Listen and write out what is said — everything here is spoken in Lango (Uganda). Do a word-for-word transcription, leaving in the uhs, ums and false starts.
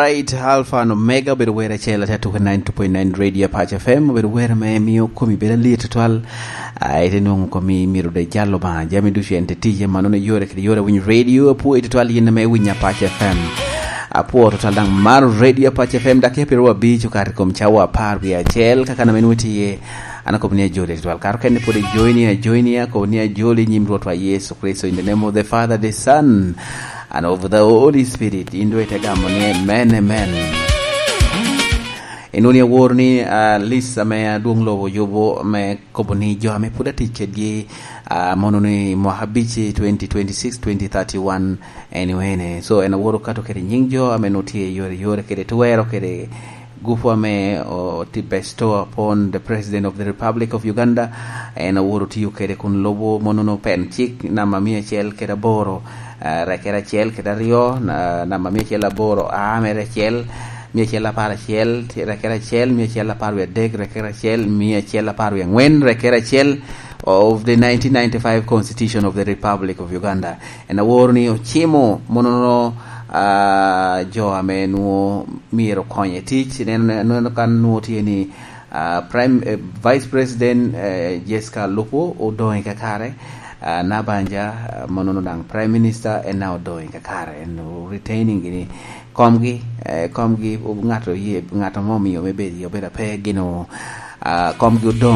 Eight Alpha and Omega obedo wer acel ate atuke ninety two point nine Radio Apac F M, obedo wer ame mio komi bedo alir tutwal. Ah, ite nwoŋo komi myero de jal Obaŋa, jami ducu en te tic, mannono yore kede yore winyo radio, apwoo tutwal yin ame winyo Apac F M. Apwoo tutwal daŋ maro Radio Apac F M, dakika pyeraryo abic okato i kom cawa apar wie acel, kaka ame nwoŋo tye, an akobo ni ajoli tutwal. Karo kene pwod ijoini, ajoini, akobo ni ajoli i nyim Rwotwa Yecu Kricito, in the name of the Father, the Son, and of the Holy Spirit. In doŋ ite gamo ni, "Amen, amen." Inwoŋo ni aworo ni, ah, lis ame adwoŋ lobo yubo me kobo ni jo ame pwod atic kedgi, ah, mono ni mwaka abic, twenty twenty-six, twenty thirty-one, anyway, ne. So, en aworo kato kede nying jo ame nwoŋo tye i yore, yore kede twero kede gupu ame o-, ti bestow upon the President of the Republic of Uganda. En aworo tiyo kede kun lubo monono pen cik namba mia acel kede aboro, ah, rekere acel kede aryo, na-, namba mia acel aboro, a mere acel, mia acel apar acel, rekere acel, mia acel apar wie adek, rekere acel, mia acel apar wie angwen, rekere acel of the nineteen ninety-five Constitution of the Republic of Uganda. En aworo ni ocimo monono, ah, jo ame nwoŋo myero konye tic. Neno, neno kan nwoŋo tye ni, ah, Prime, eh, Vice President, eh, Jessica Alupo odoŋ i kakare, ah, Nabanja, ah, monono daŋ Prime Minister en na odoŋ i kakare, en retaining gini komgi, eh, komgi, ŋat oye, ŋat ame omio me bedo, obedo ape gino, ah, komgi odoŋ.